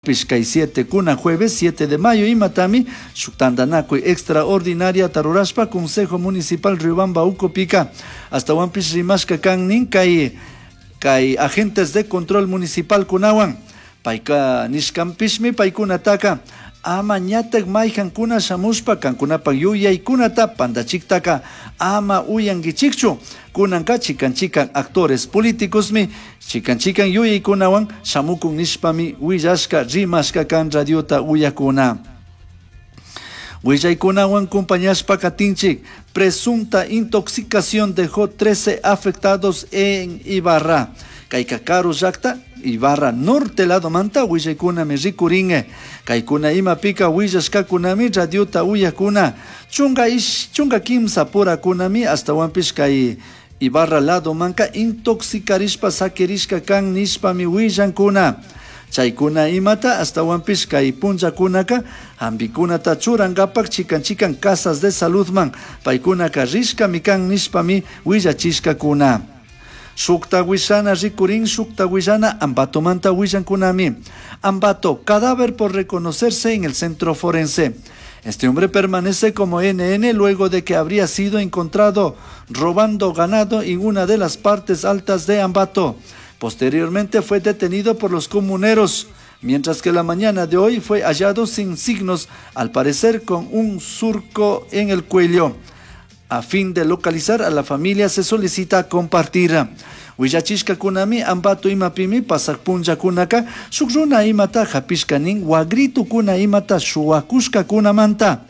Pish kay 7 kuna jueves 7 de mayo imatami shuk tantanakuy extraordinaria rurashpa Consejo Municipal Riobamba ukupika ashtawanpish rimashka kan nin kay agentes de control municipal kunawan payka nishkanpishmi paykunataka ama ñatak mayjankuna shamushpa kankunapak yuyaykunata pandachiktaka ama uyankichikchu kunanka chikan chikan actores políticosmi chikan chikan yuyaykunawan shamukun nishpami willashka rimashka kan radiota uyakuna. Willaykunawan compañashpa katinchik presunta intoxicación dejó 13 afectados en Ibarra. Kayka karu llakta Ibarra norte lado manta willaykunami rikurin. Kaykuna imapika willashkakunami radiota uyakuna 13 purakunami ashtawanpish kay Ibarra lado manka intoxicarishpa sakirishka kan nishpami willankuna. Chaykuna imata ashtawanpish kay punllakunaka hampikunata churankapak chikan chikan casas de saludman paykunaka rishkami kan nishpami willachishkakuna. Shukta willana rikurin shukta willana Ambatomanta willankunami. Ambato, cadáver por reconocerse en el centro forense. Este hombre permanece como NN luego de que habría sido encontrado robando ganado en una de las partes altas de Ambato. Posteriormente fue detenido por los comuneros, mientras que la mañana de hoy fue hallado sin signos, al parecer con un surco en el cuello. A fin de localizar a la familia se solicita compartir. Willachishkakunami Ambato imapimi pasak punllakunaka shuk runa imata hapishka nin wagritukuna imata shuwakushkakunamanta.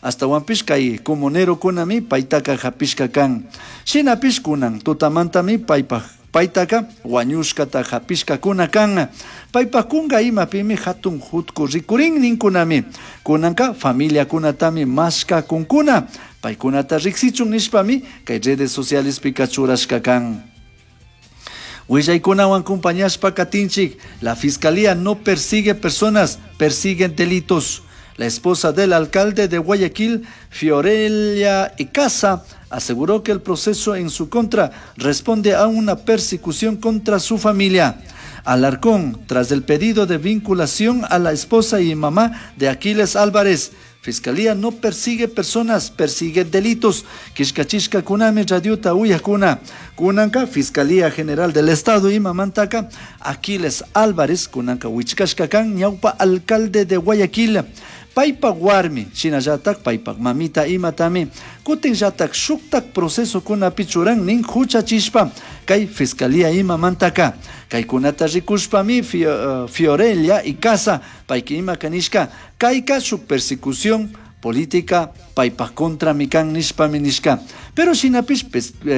Ashtawanpish kay comunerokunami paytaka hapishka kan. Shinapish kunan tutamantami paypak paytaka wañushkata hapishkakuna kan. Paypak kunka imapimi hatun jutku rikurin ninkunami. Kunanka familiakunatami mashkakunkuna. Paykunata riksichun nishpami kay redes socialespika churashka kan. Willaykunawan compañashpa katinchik, la fiscalía no persigue personas, persiguen delitos. La esposa del alcalde de Guayaquil, Fiorella Icaza, aseguró que el proceso en su contra responde a una persecución contra su familia. Alarcón, tras el pedido de vinculación a la esposa y mamá de Aquiles Álvarez, Fiscalía no persigue personas, persigue delitos. Killkachishkakunami radiota uyakuna. Kunanka, Fiscalía General del Estado imamantaka, Aquiles Álvarez, kunanka wichkashka kan, ñawpa alcalde de Guayaquil. Paypak warmi, shinallatak paypak mamita imatami, kutinllatak shuktak procesokunapi churan nin huchachishpa, kay Fiscalía imamantaka. Kaykunata rikushpami Fiorella Icaza, payka ima kanishka, kayka shuk persecución política paypak contra mikan nishpami nishka. Pero shinapish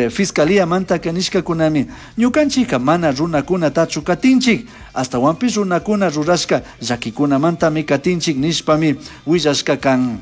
Fiscalía mantaka nishkakunami, ñukanchika mana runakunatachu katinchik, ashtawanpish runakuna rurashka llakikunamantami katinchik nishpami willashka kan.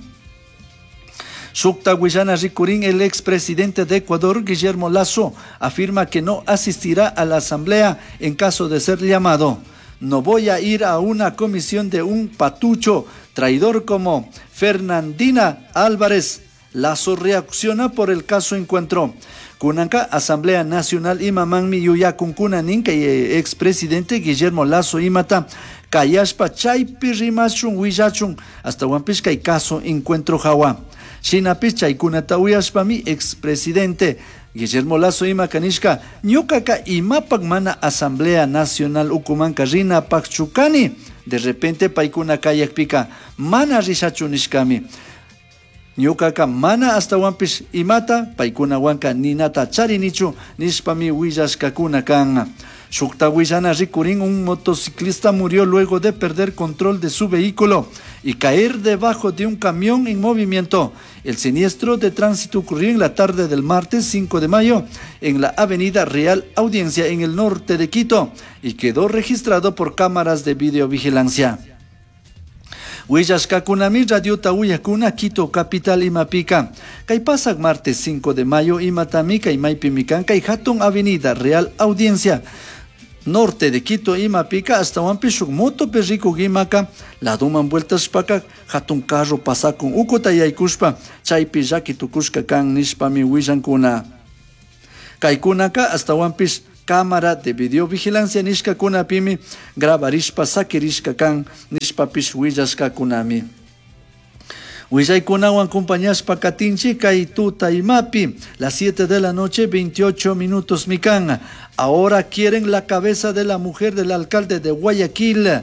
Shukta willana rikurin, el expresidente de Ecuador, Guillermo Lasso, afirma que no asistirá a la asamblea en caso de ser llamado. No voy a ir a una comisión de un patucho traidor como Fernandina Álvarez. Lasso reacciona por el caso Encuentro. Kunanka, Asamblea Nacional imamanmi yuyakunkuna nin kay expresidente Guillermo Lasso imata kayashpa chaypi rimashun willachun ashtawanpish kay caso Encuentro hawa. Shinapish chaykunata uyashpami expresidente Guillermo Lasso ima kanishka ñukaka imapak mana Asamblea Nacional ukumanka rinapakchu kani. De repente paykuna kayakpika mana rishachu nishkami. Ñukaka mana ashtawanpish imata paykunawanka ninata charinichu nishpami willashkakuna kan. Shukta willana rikurin, un motociclista murió luego de perder control de su vehículo y caer debajo de un camión en movimiento. El siniestro de tránsito ocurrió en la tarde del martes 5 de mayo en la avenida Real Audiencia en el norte de Quito y quedó registrado por cámaras de videovigilancia. Willashkakunami radiota uyakuna Quito capital imapika. Kay pasak martes 5 de mayo imatami kay maypimi kan kay hatun avenida Real Audiencia norte de Quito imapika ashtawanpish shuk motopi rikuk imaka ladoman vueltashpaka hatun carro pasakun ukuta yaykushpa chaypi llaki tukushka kan nishpami willankuna. Kaykunaka ashtawanpish Cámara de videovigilancia nishkakunapimi grabarishpa sakirishka kan nishpapish willashkakunami. Willaykunawan acompañashpa katinchik kay tuta imapi, las 7 de la noche, 28 minutos mikan. Ahora quieren la cabeza de la mujer del alcalde de Guayaquil.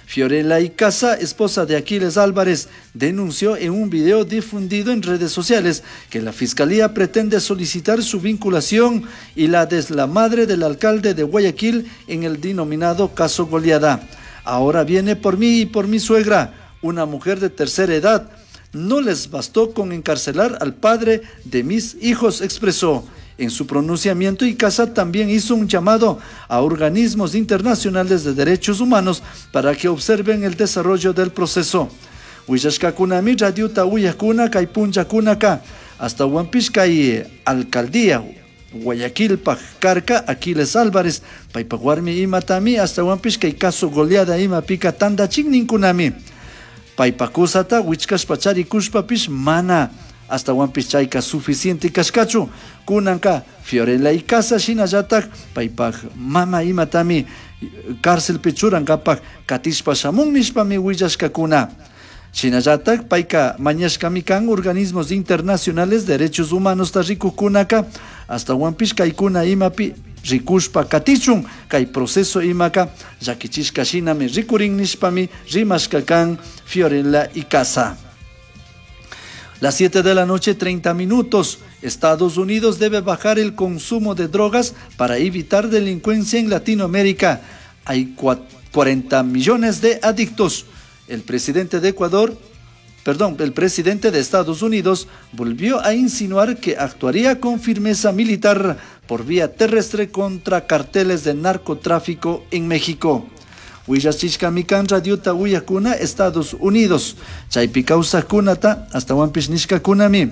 Fiorella Icaza, esposa de Aquiles Álvarez, denunció en un video difundido en redes sociales que la fiscalía pretende solicitar su vinculación y la de la madre del alcalde de Guayaquil en el denominado caso Goleada. Ahora viene por mí y por mi suegra, una mujer de tercera edad. No les bastó con encarcelar al padre de mis hijos, expresó. En su pronunciamiento, Icaza también hizo un llamado a organismos internacionales de derechos humanos para que observen el desarrollo del proceso. Willashkakunami radiota uyakuna kay punllakunaka ashtahuanpish kay alcaldía Guayaquilpaj karka Aquiles Álvarez paypak warmi imatami ashtahuanpish kay caso goleada imapika tandachin ninkunami. Paypak kusata wichkashpa charikushpapish mana ashtahuanpish chayka suficiente kashkachu. Kunanka Fiorella Icaza shinallatak paypak mama imatami cárcelpi churankapak katishpa shamun nishpami willashkakuna. Shinallatak payka mañashkami kan organismos internacionales de derechos humanos ta rikukkunaka ashtahuanpish kaykuna imapi rikushpa katichun kay proceso imaka llakichishka shinami rikurin nishpami rimashka kan Fiorella Icaza. Las 7 de la noche, 30 minutos. Estados Unidos debe bajar el consumo de drogas para evitar delincuencia en Latinoamérica. Hay 40 millones de adictos. El presidente de Ecuador, perdón, el presidente de Estados Unidos volvió a insinuar que actuaría con firmeza militar por vía terrestre contra carteles de narcotráfico en México. Willachishkami kan radiota uyakuna Estados Unidos. Chaypi kawsajkunata ashtahuanpish nishkakunami.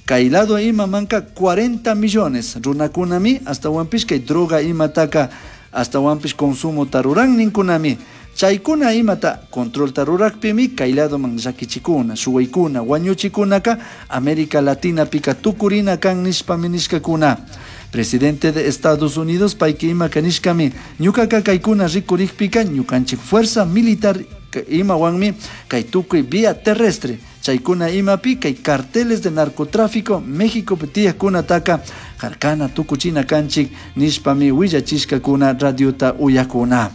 Kay lado imamanka 40 millones runakunami ashtahuanpish kay droga imataka ashtahuanpish consumo ruran ninkunami. Chaykuna imata control rurakpimi kay ladoman llakichikuna, shuwaykuna, wañuchikunaka América Latina pika tukurina kan nishpami nishkakuna. Presidente de Estados Unidos payka imaka nishkami ñukaka kaykuna rikurikpika ñukanchik fuerza militar imawanmi kay tukuy vía terrestre chaykuna imapi kay carteles de narcotráfico México tiyakkunataka harkana tukuchina kanchik nishpami willachishkakuna radiota uyakuna.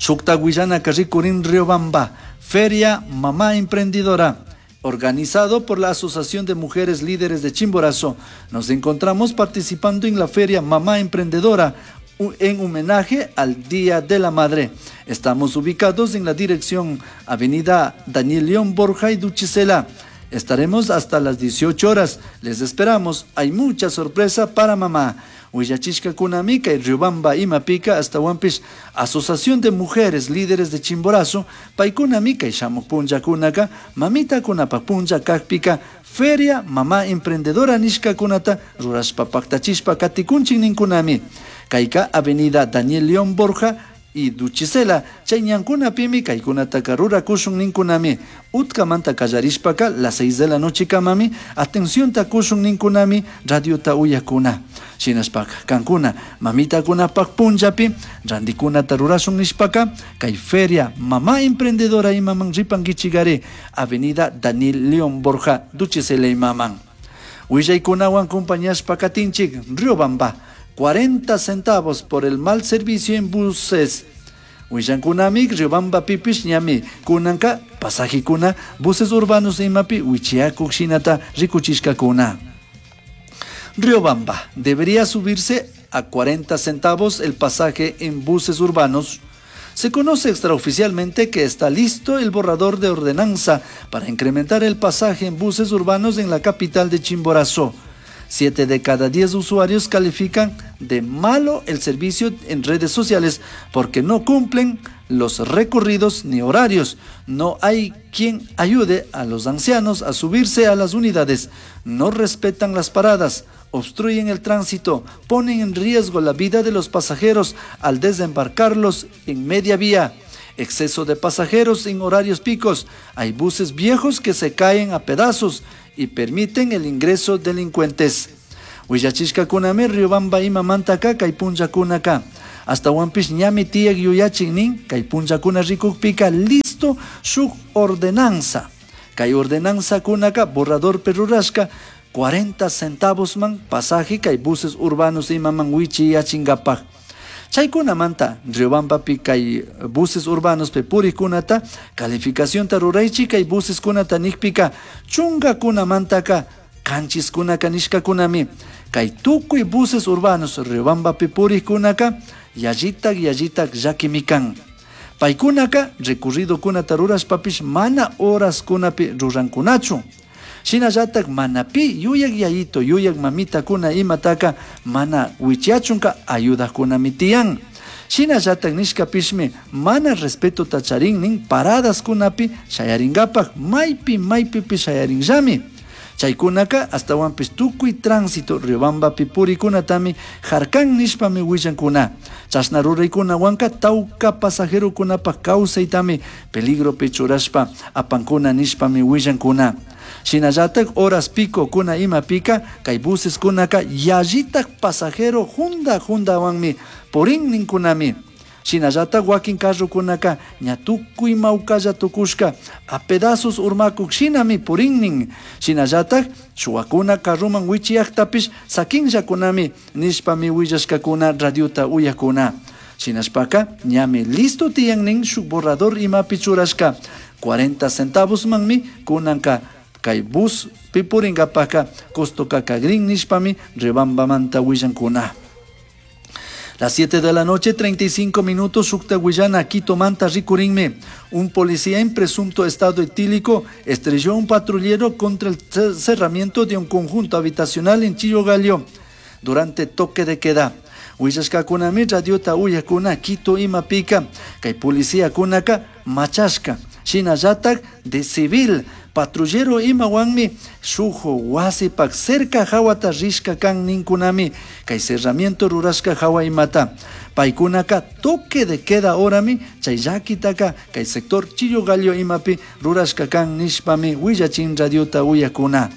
Shukta willanaka rikurin Riobamba, Feria Mamá Emprendedora, organizado por la Asociación de Mujeres Líderes de Chimborazo. Nos encontramos participando en la Feria Mamá Emprendedora en homenaje al Día de la Madre. Estamos ubicados en la dirección Avenida Daniel León Borja y Duchicela. Estaremos hasta las 18 horas. Les esperamos. Hay mucha sorpresa para mamá. Willachishkakunami kay Riobamba imapika ashtahuanpish Asociación de Mujeres Líderes de Chimborazo paykunami kay shamuk punllakunaka mamitakunapak punlla kakpika Feria Mamá Emprendedora nishkakunata rurashpa paktachishpa katikunchik ninkunami. Kayka Avenida Daniel León Borja y Duchicela chay ñankunapimi kaykunataka rurakushun ninkunami. Utkamanta kallarishpaka las 6 de la noche kamami atencionta kushun ninkunami radiota uyakuna. Shinashpaka kankuna mamitakunapak punllapi randikunata rurashun nishpaka kay Feria Mamá Emprendedora imaman ripankichikari Avenida Daniel León Borja Duchicela imaman. Willaykunawan compañashpa katinchik Riobamba 40 centavos por el mal servicio en buses. Willankunami Riobamba pipish ñami kunanka pasajikuna buses urbanos imapi wichiakuk shinata rikuchishkakuna. Riobamba debería subirse a 40 centavos el pasaje en buses urbanos. Se conoce extraoficialmente que está listo el borrador de ordenanza para incrementar el pasaje en buses urbanos en la capital de Chimborazo. 7 de cada 10 usuarios califican de malo el servicio en redes sociales porque no cumplen los recorridos ni horarios. No hay quien ayude a los ancianos a subirse a las unidades. No respetan las paradas, obstruyen el tránsito, ponen en riesgo la vida de los pasajeros al desembarcarlos en media vía. Exceso de pasajeros en horarios picos. Hay buses viejos que se caen a pedazos y permiten el ingreso de delincuentes. Willachishcacunami Riobamba imamantaka kay punllakunaka. Ashtahuanpish ñami tiyak yuyachin nin kay punllakuna rikukpika listo shuk ordenanza. Kay ordenanzakunaka borradorpi rurashka 40 centavosman pasaje kay buses urbanos imaman wichiyachinkapak. Chaykunamanta Riobambapi kay buses urbanospi purikkunata calificacionta ruraychik kay buseskunata nikpika chunkakunamantaka kanchiskunaka nishkakunami kay tukuy buses urbanos Riobambapi purikkunaka yallitak yallitak llakimi kan. Paykunaka recorridokunata rurashpapish mana horaskunapi rurankunachu. Shinallatak mana pi yuyak yayito yuyak mamitakuna imataka mana wichiyachunka ayudakunami tiyan. Shinallatak nishkapishmi mana respetota charin nin paradaskunapi shayarinkapak maypi maypipi shayarinllami. Chaykunaka ashtawanpish tukuy tránsito Riobambapi purikunatami harkan nishpami willankuna. Chashna ruraykunawanka tawka pasajerokunapak kawsaytami peligropi churashpa apankuna nishpami willankuna. Shinallatak horas pico kuna imapika kay buseskunaka yallitak pasajero junda jundawanmi purin ninkunami. Shinallatak wakin carrokunaka ña tukuy mawkalla tukushka a pedazos urmakuk shinami purinnin. Shinallatak shuwakuna carroman wichiyaktapish sakinllakunami nishpami willashkakuna radiota uyakuna. Shinashpaka ñami listo tiyan nin shuk borrador imapi churashka 40 centavosmanmi kunanka kay bus pipurinkapaka costoka kagrin nishpami Riobambamanta willankuna. Las 7 de la noche, 35 minutos, Shukta Guillana, Quito Manta, Ricurinme. Un policía en presunto estado etílico estrelló a un patrullero contra el cerramiento de un conjunto habitacional en Chillogallo durante toque de queda. Huillashkakunami radiota uyakuna Quito imapika, kay policía kunaka machashka, shinallatak de civil, patrullero imawanmi shuk wasipak cerca hawata rishka kan ninkunami, kay cerramiento rurashka hawa imata. Paykunaka toque de queda orami, chay llakitaka kay sector Chillogallo imapi rurashka kan nishpami willachin radiota uyakuna.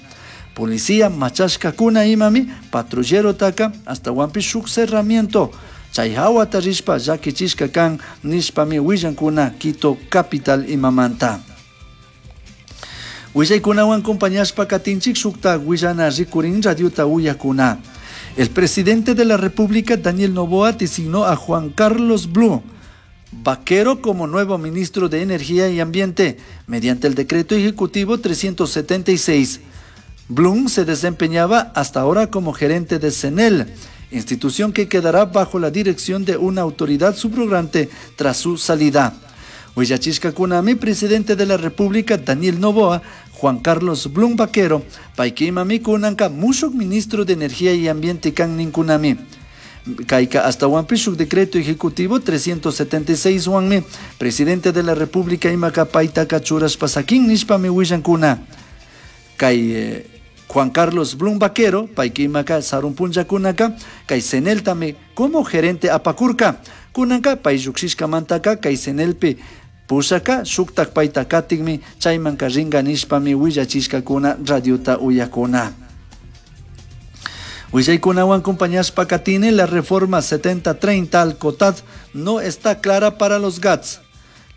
Policía machashkakuna imami patrullero taka ashtawanpish shuk cerramiento chay hawata rishpa llakichishka kan nishpami willankuna Quito capital imamanta. Willaykunawan acompañashpa katinchik shukta willana rikurin radiota uyakuna. El presidente de la República, Daniel Noboa, designó a Juan Carlos Blum Vaquero como nuevo ministro de Energía y Ambiente mediante el decreto ejecutivo 376. Blum se desempeñaba hasta ahora como gerente de CENEL, institución que quedará bajo la dirección de una autoridad subrogante tras su salida. Huillachishka kunami, presidente de la República, Daniel Noboa, Juan Carlos Blum Vaquero, paykimami kunanka mushuk ministro de Energía y Ambiente kan ninkunami. Kayka ashtawanpish shuk decreto ejecutivo 376 wanmi, presidente de la República imaka paytaka churashpa sakin nishpami willankuna. Kay Juan Carlos Blum Vaquero, paykimaka sarun punllakunaka, kay CENEL-tami como gerente apakurka. Kunanka pay llukshishkamantaka kay CENELpi pushaka shuktak payta katikmi chaymanka rinka nishpami willachishkakuna radiota uyakuna. Willaykunawan acompañashpa katini la reforma 70-30 al COTAD no está clara para los GATS.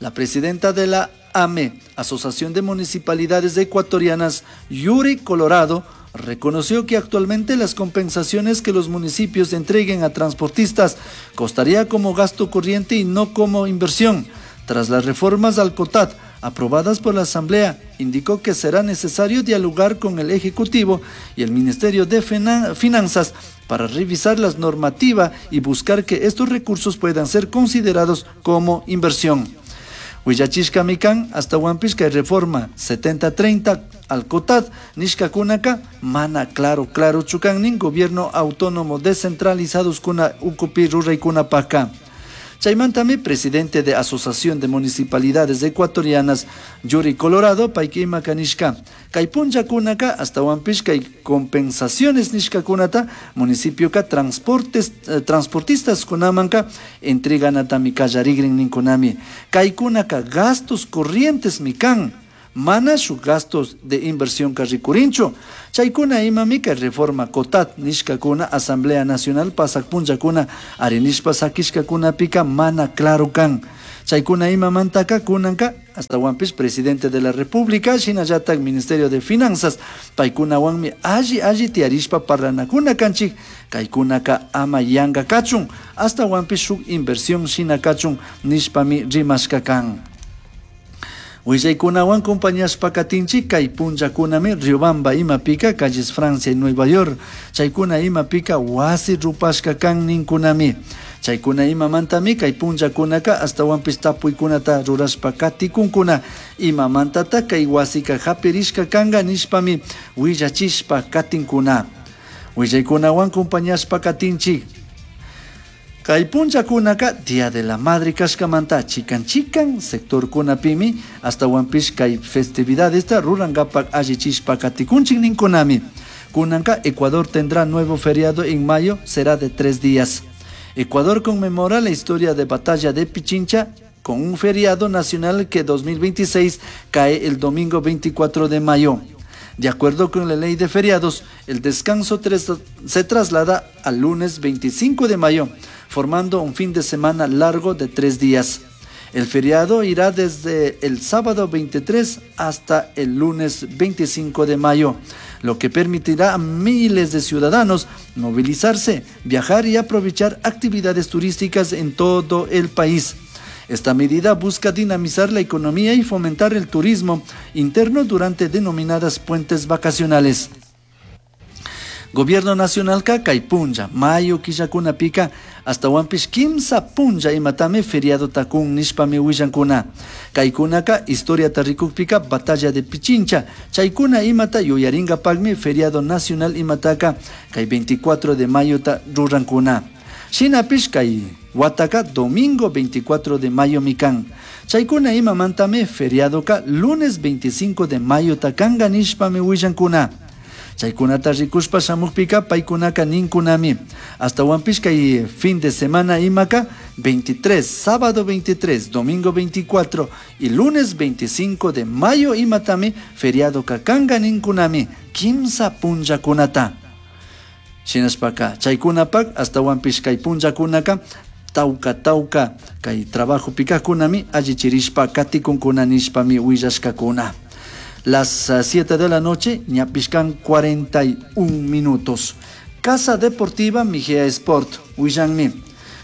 La presidenta de la AME, Asociación de Municipalidades Ecuatorianas, Yuri Colorado, reconoció que actualmente las compensaciones que los municipios entreguen a transportistas costaría como gasto corriente y no como inversión. Tras las reformas al COTAD aprobadas por la Asamblea, indicó que será necesario dialogar con el Ejecutivo y el Ministerio de Finanzas para revisar la normativa y buscar que estos recursos puedan ser considerados como inversión. Willachishkami kan ashtawanpish kay reforma 70-30 al COTAD nishkakunaka mana claro claro chukan nin gobierno autónomo descentralizados kuna ukupi ruraykunapaka. Chaymantami presidente de Asociación de Municipalidades Ecuatorianas Yuri Colorado payka imaka nishka kay punllakunaka ashtawanpish kay compensaciones nishkakunata municipioka transportes transportistas kunamanka entreganatami kallarigrin ninkunami kaykunaka gastos corrientes mi kan. Mana shuk gastos de inversionka rikurinchu. Chaykuna imami kay reforma COTAD nishkakuna Asamblea Nacional pasak punllakuna arinishpa sakishkakunapika mana claro kan. Chaykuna imamantaka kunanka astawanpish presidente de la República shinallatak Ministerio de Finanzas paykunawanmi alli alli tiyarishpa parlanakuna kanchik kaykunaka ama yanka kachun astawanpish shuk inversión shina kachun nishpami rimashka kan. Willaykunawan compañashpa katinchik kay punllakunami Riobamba imapika calles Francia y Nueva York chaykuna imapika wasi rupashka kan ninkunami. Chaykuna imamantami kay punllakunaka astawanpish tapuykunata rurashpa katikunkuna imamantata kay wasika hapirishka kanka nishpami willachishpa katinkuna. Willaykunawan compañashpa katinchik. Kay punllakunaka Día de la Madre kashkamanta chikan chikan sectorkunapimi astawanpish kay festividadesta rurankapak allichishpa katikunchik ninkunami. Kunanka Ecuador tendrá nuevo feriado en mayo, será de 3 días. Ecuador conmemora la historia de batalla de Pichincha con un feriado nacional que 2026 cae el domingo 24 de mayo. De acuerdo con la ley de feriados, el descanso se traslada al lunes 25 de mayo, formando un fin de semana largo de 3 días. El feriado irá desde el sábado 23 hasta el lunes 25 de mayo, lo que permitirá a miles de ciudadanos movilizarse, viajar y aprovechar actividades turísticas en todo el país. Esta medida busca dinamizar la economía y fomentar el turismo interno durante denominadas puentes vacacionales. Gobierno Nacional ka kay punlla, mayo killakunapika astawanpish kimsa punlla imatami feriado takun nishpami willankuna. Kaykunaka historiata rikukpika batalla de Pichincha, chaykuna imata yuyaringapakmi feriado nacional imataka kay 24 de mayo ta rurankuna. Shinapish kay wataka domingo 24 de mayo mikan. Chaykuna imamantami feriadoka lunes 25 de mayo takanga nishpami willankuna. Chaykunata rikushpa shamukpika paykunaka ninkunami. Astawanpish kay fin de semana imaka 23, sábado 23, domingo 24 y lunes 25 de mayo imatami feriado kakanga ninkunami kimsa punllakunata. Shinashpaka chaykunapak astawanpish kay punllakunaka tawka tawka kay trabajo pikakunami allichirishpa katikunkuna nishpami willashkakuna. Las 7 de la noche, ñapishkan 41 minutos. Casa Deportiva Mejía Sport, willanmi.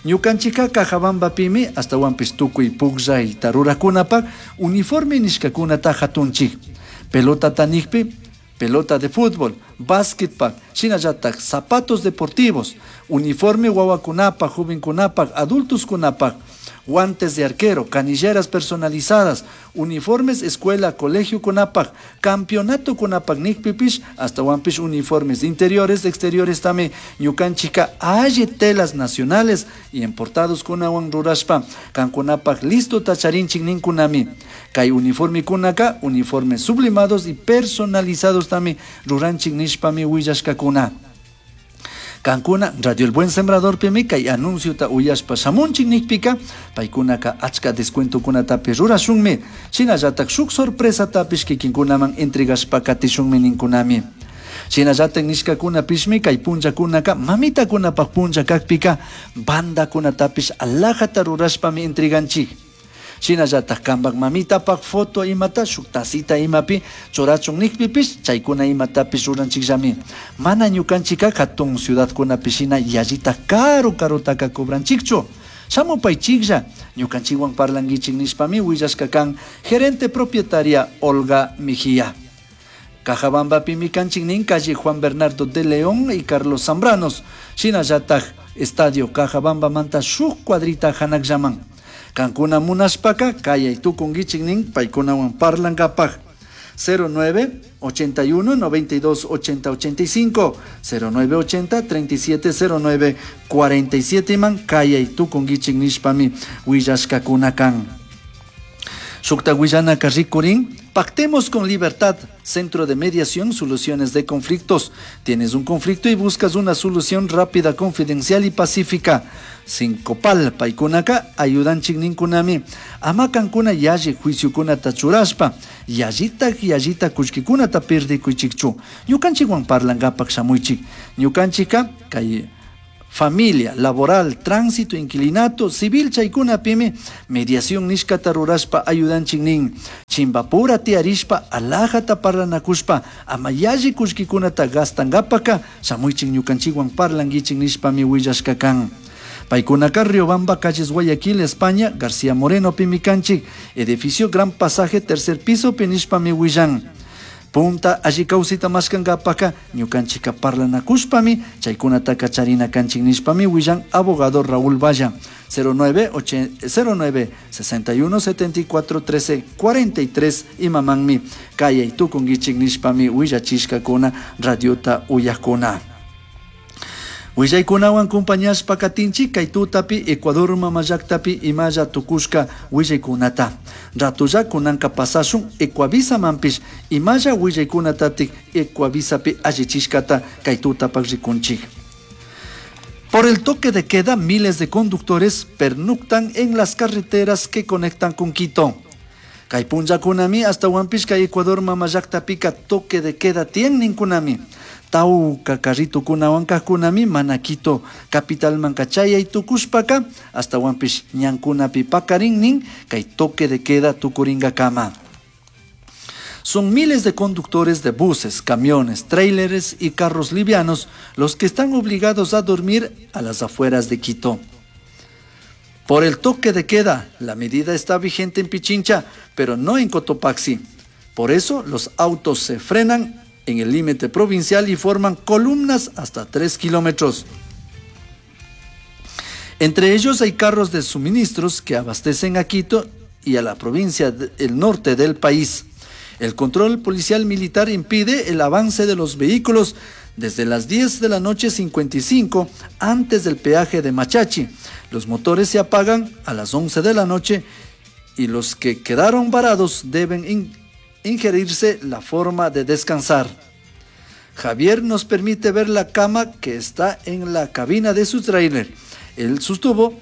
Ñukanchika Cajabamba pimi, astawanpish tukuy pukllay tarurakunapak, uniforme nishkakunata hatunchik. Pelota tanikpi, pelota de fútbol, básquetpak, shinallatak, zapatos deportivos, uniforme wawakunapak, jovenkunapak, adultoskunapak, guantes de arquero, canilleras personalizadas, uniformes escuela, colegio kunapak, campeonato kunapak nikpipish, astawanpish uniformes interiores, exteriores también, ñukanchika alli telas nacionales y importados kunawan rurashpa, kankunapak listo tacharinchik ninkunami. Kay uniforme kunaka, uniformes sublimados y personalizados también, ruranchik nishpami willashkakuna. Kankuna, Radio El Buen Sembrador pimi, kay anuncio ta uyashpa shamunchik nikpika, paykunaka achka descuento kunatapi rurashunmi, shinallatak shuk sorpresa tapish kikinkunaman entregashpa katishunmi ninkunami. Shinallatak nishkakunapishmi kay punllakunaka mamitakunapak punlla kakpika, bandakunatapish alajata rurashpami entreganchik. Shinallatak kanpak mamitapak foto imata shuk tacita imapi churachun nikpipish chaykuna imatapish ruranchikllami. Mana ñukanchika hatun ciudadkunapi shina yallita karu karutaka cobranchikchu. Shamupaychiklla ñukanchikwan parlankichik nishpami willashka kan gerente propietaria Olga Mejía. Cajabambapimi kanchik nin calle Juan Bernardo de León y Carlos Zambranos. Shinallatak estadio Cajabamba manta shuk cuadrita hanakllaman. Kankuna munashpaka kayay tukunkichik nin paykunawan parlankapak. Cero nueve ochenta y uno noventa y dos ochenta ochenta y cinco, cero nueve ochenta treinta y siete cero nueve cuarenta y siete man kayay tukunkichik nishpami willashkakuna kan. Shukta willanaka rikurin, pactemos con libertad, Centro de Mediación, Soluciones de Conflictos. Tienes un conflicto y buscas una solución rápida, confidencial y pacífica. Sincopal, paykunaka, ayudanchik ninkunami. Ama kankuna yalli juiciocunata churashpa, yallita yallita kullkikunata pirdikuychikchu. Ñukanchikwan parlankapak shamuychik. Ñukanchika kay familia, laboral, tránsito, inquilinato, civil chaykunapimi mediación nishkata rurashpa ayudanchik nin. Chimbapura tiyarishpa alajata parlanakushpa ama yalli kullkikunata gastankapaka shamuychik ñukanchikwan parlankichik nishpami willashka kan. Paykunaka Riobamba, calles Guayaquil, España, García Moreno, pimi kanchik, edificio Gran Pasaje, tercer piso, nishpami willan. Punta alli kawsayta mashkankapaka ñukanchika parlanakushpami chaykunataka charina kanchik nishpami willan abogado Raúl Valla. 09 09 61 74 13 43 imamanmi kayay tukunkichik nishpami willachishkakuna radiota uyakuna. Willaykunawan kumpañashpa katinchik kay tutapi Ecuador mamallaktapi imalla tukushka willaykunata. Ratulla kunanka pasashun Ecuavisamanpish imalla willaykunatatik Ecuavisapi allichishkata kay tutapak rikunchik. Por el toque de queda, miles de conductores pernoctan en las carreteras que conectan con Quito. Kay punllakunami ashtawanpish kay Ecuador mamallaktapika toque de queda tiyan ninkunami. Tawka carritukunawan kajkunami mana Quito capitalmanka chayay tukushpaka ashtawanpish ñankunapi pakarin nin kay toque de queda tukuringakama. Son miles de conductores de buses, camiones, tráileres y carros livianos los que están obligados a dormir a las afueras de Quito. Por el toque de queda, la medida está vigente en Pichincha, pero no en Cotopaxi. Por eso los autos se frenan en el límite provincial y forman columnas hasta 3 kilómetros. Entre ellos hay carros de suministros que abastecen a Quito y a la provincia del norte del país. El control policial militar impide el avance de los vehículos desde las 10 de la noche 55 antes del peaje de Machachi. Los motores se apagan a las 11 de la noche y los que quedaron varados deben ingerirse la forma de descansar. Javier nos permite ver la cama que está en la cabina de su tráiler. Él sostuvo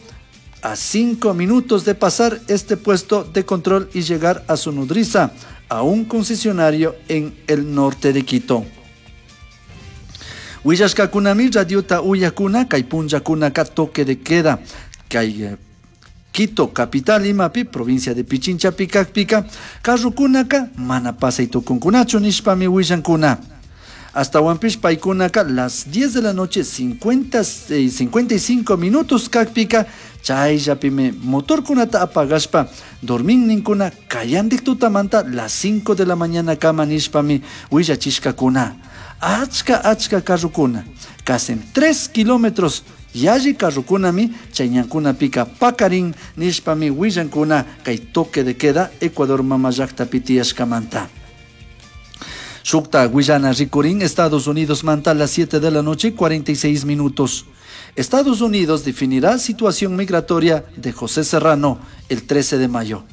a 5 minutos de pasar este puesto de control y llegar a su nodriza, a un concesionario en el norte de Quito. Willashkakunami radiota uyakuna kay punllakunaka toque de queda kay Quito capital imapi provincia de Pichincha pikakpika carrukunaka mana pasay tukunkunachu nishpami willankuna. Ashtawanpish paykunaka las 10 de la noche 55 minutos kakpika chayllapimi motorkunata apagashpa dormin ninkuna kayandik tutamanta las 5 de la mañana kama nishpami willachishkakuna. Achka achka carrukuna casi 3 kilómetros yalli carrukunami chay ñankunapika pakarin nishpami willankuna kay toque de queda Ecuador mamallaktapi tiyashkamanta. Shukta willana rikurin Estados Unidos manta a las 7 de la noche 46 minutos. Estados Unidos definirá situación migratoria de José Serrano el 13 de mayo.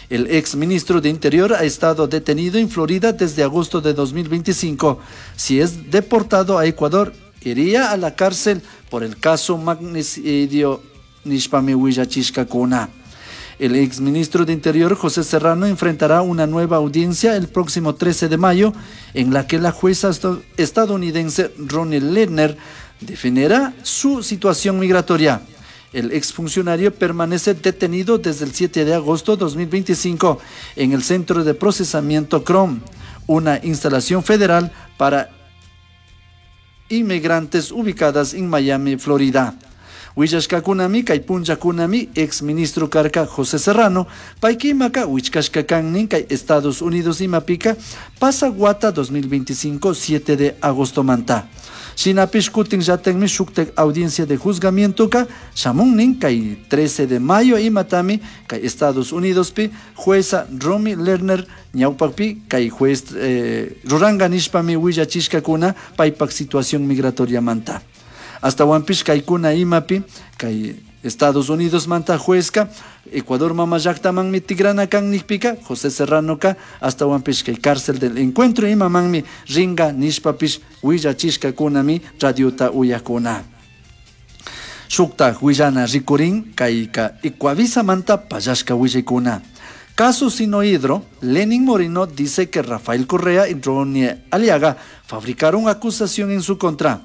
El ex ministro de Interior ha estado detenido en Florida desde agosto de 2025. Si es deportado a Ecuador, iría a la cárcel por el caso magnicidio nishpami willachishkakuna. El ex ministro de Interior, José Serrano, enfrentará una nueva audiencia el próximo 13 de mayo, en la que la jueza estadounidense Ronnie Lerner definirá su situación migratoria. El exfuncionario permanece detenido desde el 7 de agosto de 2025 en el Centro de Procesamiento Krome, una instalación federal para inmigrantes ubicadas en Miami, Florida. Willashkakunami kay punllakunami ex ministro karka José Serrano paykimaka wichkashka kan kay Estados Unidos imapika pasa wata 2025 7 de agosto manta. Shinapish kutin llatakmi shuktak audiencia de juzgamiento ka shamunnin kay 13 de mayo imatami kay Estados Unidos pi jueza Romy Lerner ñawpakpi kay juez ruranga nishpami willachishkakuna paypak situación migratoria manta. Ashtawanpish kaykuna imapi kay Estados Unidos manta juezka Ecuador mama llaktamanmi tigrana kan nikpika José Serranoka ashtawanpish kay cárcel del encuentro imamanmi ringa nishpapish willachishkakunami radiota uyakuna. Shuktaj willana rikurin kayka Ecuavisamanta pallashka willaykuna. Caso Sinohidro, Lenin Moreno dice que Rafael Correa y Ronnie Aliaga fabricaron acusación en su contra.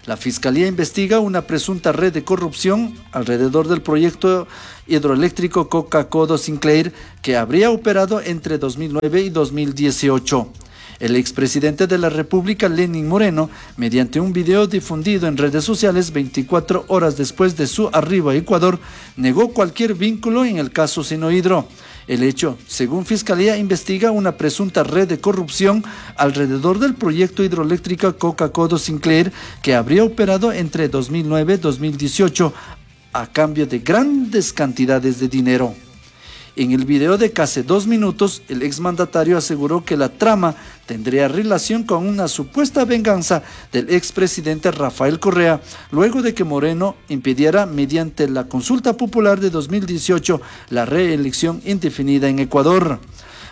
La Fiscalía investiga una presunta red de corrupción alrededor del proyecto hidroeléctrico Coca-Codo Sinclair que habría operado entre 2009 y 2018. El expresidente de la República, Lenin Moreno, mediante un video difundido en redes sociales 24 horas después de su arribo a Ecuador, negó cualquier vínculo en el caso Sinohidro. El hecho, según Fiscalía, investiga una presunta red de corrupción alrededor del proyecto hidroeléctrico Coca-Codo Sinclair que habría operado entre 2009 y 2018 a cambio de grandes cantidades de dinero. En el video de casi 2 minutos, el exmandatario aseguró que la trama tendría relación con una supuesta venganza del expresidente Rafael Correa, luego de que Moreno impidiera mediante la consulta popular de 2018 la reelección indefinida en Ecuador.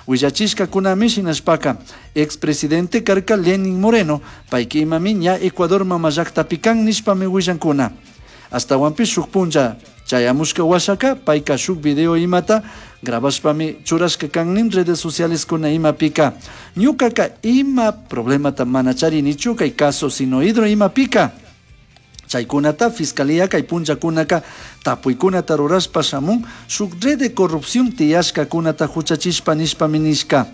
Willachishka kunami shinashpaka, expresidente karka Lenin Moreno, payka imami ña Ecuador mama llaktapi kan nishpami willankuna. Ashtawanpish shuk punlla chayamushka washaka, payka shuk video imata grabashpami churashka kan nin redes sociales kuna imapika. Ñukaka ima problemata mana charinichu kay caso Sinohidro imapika. Chaykunata fiscalía kay punllakunaka tapuykunata rurashpa shamun shuk red de corrupción tiyashkakunata huchachishpa nishpami nishka.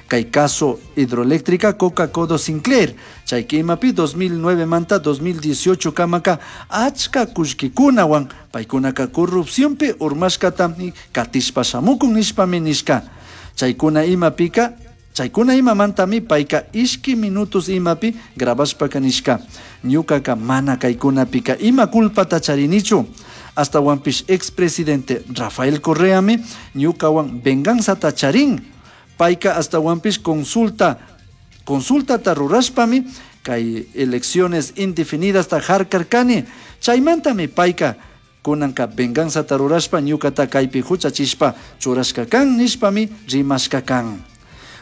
Kay caso hidroeléctrica Coca-Codo Sinclair, chayka imapi 2009 manta 2018 kamaka achka kullkikunawan paykunaka corrupcionpi urmashkatami katishpa shamukun nishpami nishka. Chaykuna imapika, chaykuna imamantami payka ishki minutos imapi grabashpaka nishka. Ñukaka mana kaykunapika ima culpata charinichu. Ashtawanpish expresidente Rafael Correami ñukawan venganzata charin. Payka ashtawanpish consulta rurashpami kay elecciones indefinidas ta harkarkani. Chaymantami payka kunanka venganzata rurashpa ñukata kaypi huchachishpa churashka kan nishpami rimashka kan.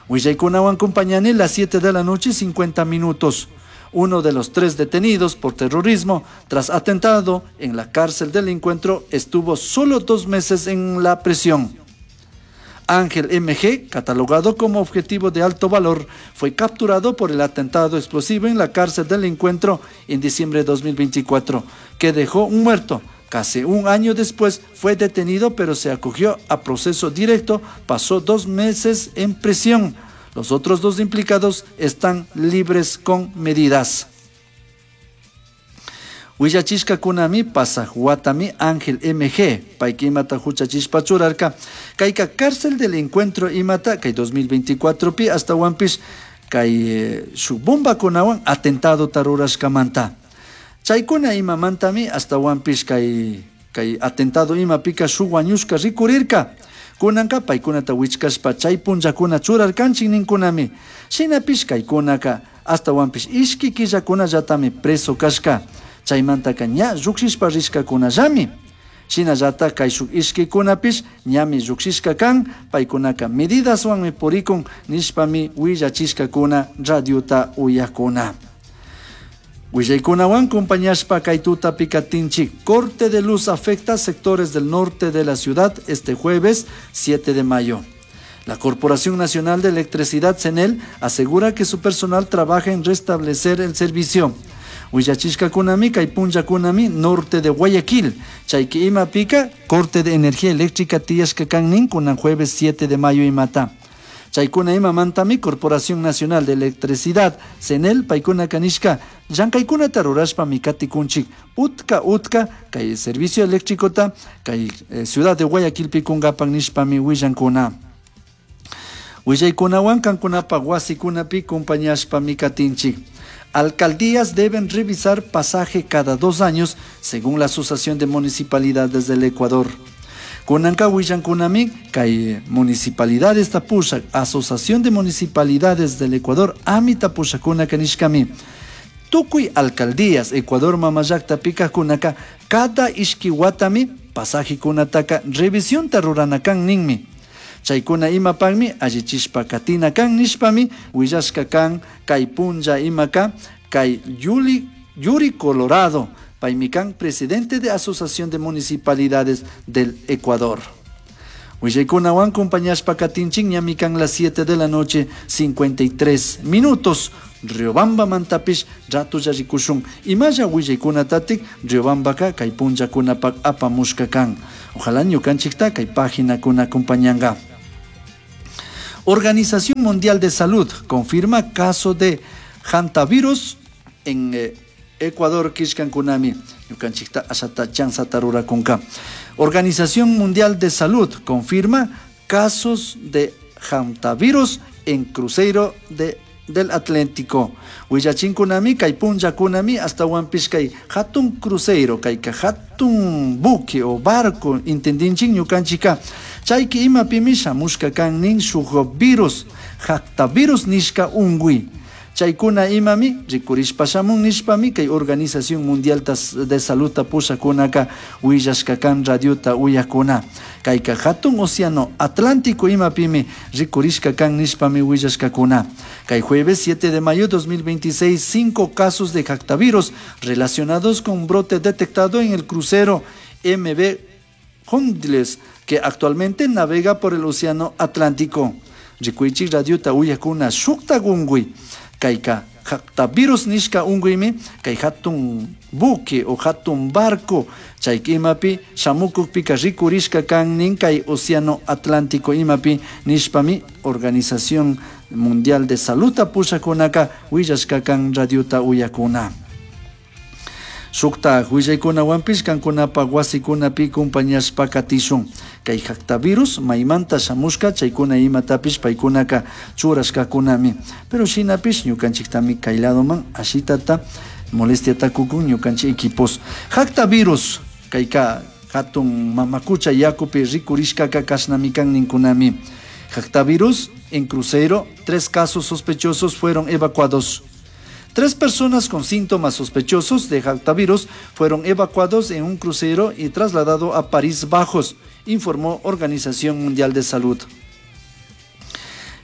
Willaykunawan compañani las 7 de la noche 50 minutos. Uno de los 3 detenidos por terrorismo tras atentado en la cárcel del encuentro estuvo solo 2 meses en la prisión. Ángel MG, catalogado como objetivo de alto valor, fue capturado por el atentado explosivo en la cárcel del encuentro en diciembre de 2024, que dejó un muerto. Casi un año después fue detenido, pero se acogió a proceso directo, pasó 2 meses en prisión. Los otros 2 implicados están libres con medidas. Willachishka kunami pasahuatami Ángel MG, payka imata huchachishpa churarka, kayka cárcel del encuentro imata, kay 2024 pi ashtawanpish, kay shuk bomba kunawan atentado tarurashkamanta. Chaykuna imamantami ashtawanpish kay atentado imapika shuk wañushka rikurirka. Kunanka paykunata wichkashpa chay punllakuna churarkanchik ninkunami. Shinapish kaykunaka ashtawanpish ishki killakunallatami preso kashka. Chaymantaka ña llukshishpa rishkakunallami. Shinallata kay shuk ishkikunapish ñami llukshishka kan, paykunaka medidaswanmi purikun nishpami willachishkakuna radiota uyakuna. Willaykunawan compañashpa kay tutapi katinchik. Corte de luz afecta sectores del norte de la ciudad este jueves 7 de mayo. La Corporación Nacional de Electricidad, CENEL, asegura que su personal trabaja en restablecer el servicio. Willachishka kunami, kay punlla kunami, norte de Guayaquil. Chayki ima pika, corte de energía eléctrica tiyashka kan nin kunan jueves 7 de mayo imata. Chaykuna ima mantami, Corporación Nacional de Electricidad, CENEL, paykuna kanishka, llankaykunata tarurashpa mikati kunchik, utka utka, kay servicio eléctrico ta, kay ciudad de Guayaquil pikungapan nishpami willankuna. Willaykunawan kankunapa wasikunapi compañashpa mikatinchik. Alcaldías deben revisar pasaje cada 2 años, según la Asociación de Municipalidades del Ecuador. Kunanka willankunami, kay municipalidades tapusha, Asociación de Municipalidades del Ecuador, ami tapushakuna kanishkami. Tukuy alcaldías, Ecuador mamallakta pika kunaka, cada ishki watami Pasajekunataka revisionta rurana kan ninmi. Chaykuna imapakmi allichishpa katina kan nishpami willashka kan kay punlla imaka kay Yuri Colorado, paymi kan presidente de Asociación de Municipalidades del Ecuador. Willaykunawan compañashpa katinchik ñami kan las 7 de la noche 53 minutos. Riobamba mantapish ratulla rikushun. Imalla willaykunatatik Riobambaka kay punllakunapak apamushka kan. Ojalá ñukanchikta kay paginakuna acompañanga. Organización Mundial de Salud confirma caso de hantavirus en Ecuador kishkankunami. Ñukanchikta ashata chansata rurakunka. Organización Mundial de Salud confirma casos de hantavirus en crucero del Atlántico. Willachinkunami, kay punllakunami, hasta kay hatun crucero, kay hatun buque o barco, entendinchik ñukanchika. Chayki imapimi shamushka kan nin shuk virus, hantavirus nishka ungui. Chaykuna imami rikurishpa shamun nishpami kay Organización Mundial de Salud pushakunaka willashka kan radiota uyakuna. Kayka hatun océano Atlántico imapimi rikurishka kan nishpami willashkakuna. Kay jueves 7 de mayo 2026, 5 casos de hantavirus relacionados con brote detectado en el crucero MV Honduras, que actualmente navega por el océano Atlántico. Rikuichik radiota uyakuna shukta gungui. Kayka hantavirus nishka unguymi kay hatun buque o hatun barco chayka imapi shamukukpika rikurishka kan nin kay océano Atlántico imapi nishpami Organización Mundial de Salud pushakunaka willashka kan radiota uyakuna. Shukta willaykunawanpish kankunapa wasikunapi compañashpa katishun. Kay hantavirus maymanta shamushka chaykuna imatapish paykunaka churashkakunami. Pero shinapish ñukanchiktami kay ladoman ashitata molestiata kukun ñukanchik equipos. Hantavirus kayka hatun mamakucha yakupi rikurishkaka kashnami kan ninkunami. Hantavirus en crucero, 3 casos sospechosos fueron evacuados. 3 personas con síntomas sospechosos de hantavirus fueron evacuados en un crucero y trasladado a País Bajos, informó Organización Mundial de Salud.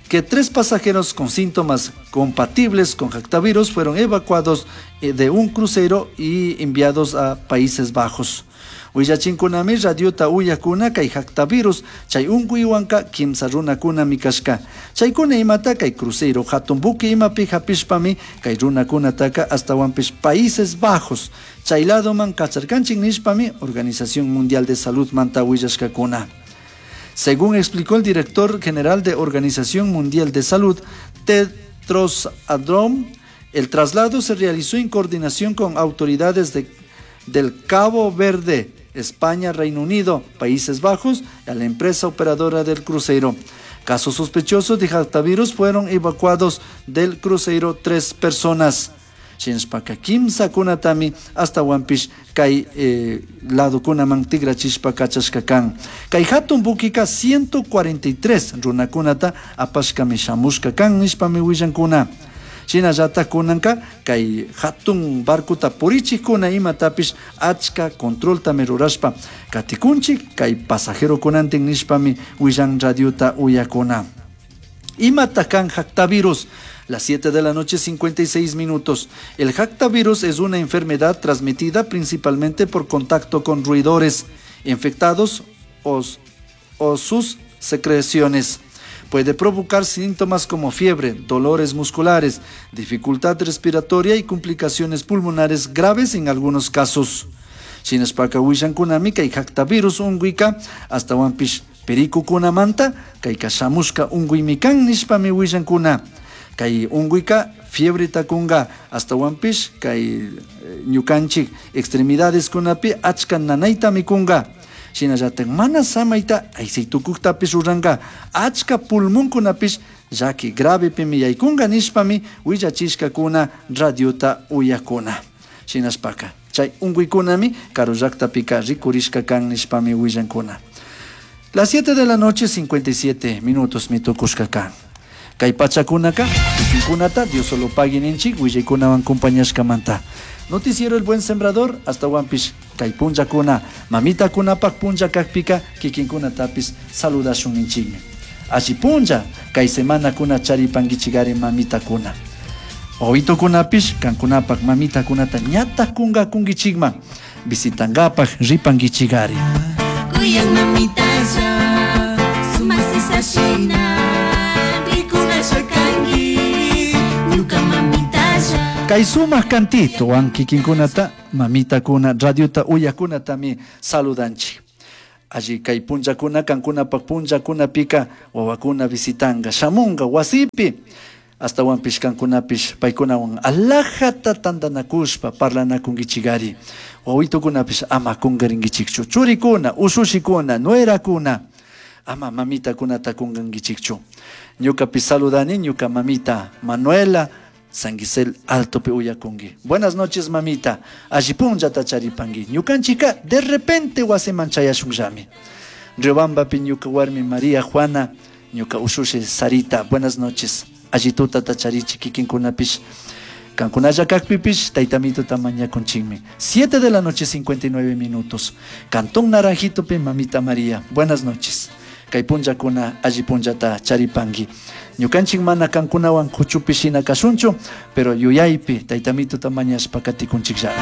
Que 3 pasajeros con síntomas compatibles con hantavirus fueron evacuados de un crucero y enviados a Países Bajos. Willachinkunami radiota uyakuna kay hantavirus chay unkuywanka kimsa runakuna mikashka. Chaykuna imata kay crucero hatun buque imapi hapishpami kay runakunataka astawanpish Países Bajos. Chay ladoman kacharkanchik nishpami Organización Mundial de Salud manta willashkakuna. Según explicó el director general de Organización Mundial de Salud, Tedros Adhanom, el traslado se realizó en coordinación con autoridades del Cabo Verde, España, Reino Unido, Países Bajos y a la empresa operadora del crucero. Casos sospechosos de hantavirus fueron evacuados del crucero 3 personas. Shinshpaka kimsa kunatami hasta Wampish kay lado kunaman tigrachishpa kachashka kan. Kay hatun bukika 143 runakunata apashkami shamushka kan nishpami willankuna. Shinallata kunanka kay hatun barkuta purichikuna imatapish achka controltami rurashpa katikunchik kay pasajero kunantin nishpami willan radiota uyakuna. Imata kan hantavirus. Las 7 de la noche, 56 minutos. El hantavirus es una enfermedad transmitida principalmente por contacto con roedores infectados o sus secreciones. Puede provocar síntomas como fiebre, dolores musculares, dificultad respiratoria y complicaciones pulmonares graves en algunos casos. Shinashpaka wishankunami kay hantavirus unguika hasta wampish perikukunamanta kay kashamushka unguimikan nishpami wishankuna. Kay unguika fiebre takunga hasta wampish kay ñukanchik extremidades kunapi achka nanayta mikunga. Shinallatak mana samayta aysaytukuktapish ruranka achka pulmonkunapish llaki gravepimi yaykunga nishpami willachishkakuna radiota uyakuna. Shinashpaka chay unkuykunami karu llaktapika rikurishka kan nishpami willankuna. Las 7 de la noche, 57 minutos mitukushka kan. Kay pachakunaka kikinkunata Dios solo pagui ninchik willaykunawan compañashkamanta. Noticiero El Buen Sembrador astawanpish kay punllakuna mamitakunapak punlla kakpika kikinkunatapis saludashun ninchikmi. Alli punlla kay semanakuna charipankichikari mamitakuna. Wawitukunapish kankunapak mamitakunata ñatak kunkakunkichikman visitankapak ripankichikari. Kuyan mamitalla, sumak sisashina, rikunasha kanki, ñuka mamitalla. Kay sumak kantitowan kikinkunata mamitakuna radiota uyakunatami saludanchik. Alli kay punllakuna kankunapak punllakunapika wawakuna visitanka shamunka wasipi astawanpish kankunapish paykunawan alajata tantanakushpa parlanakunkichikari. Wawitukunapish ama kunkarinkichikchu churikuna ushushikuna nuerakuna ama mamitakunata kunkankichikchu. Ñukapish saludani ñuka mamita Manuela San Gisel Altopi uyakunki. Buenas noches mamita, alli punllata charipanki. Ñukanchika de repente wasiman chayashunllami. Riobambapi ñuka warmi María Juana, ñuka ushushi Sarita, buenas noches. Alli tutata charichi kikinkunapish. Kankunalla kakpipish taytamituta mañakunchikmi. 7 de la noche 59 minutos. Cantón Naranjitopi mamita María, buenas noches. Kay punllakuna alli punllata charipanki. Ñukanchik mana kankunawan kuchupi shina kashunchu, pero yuyaypi taytamituta mañashpa katikunchikllami.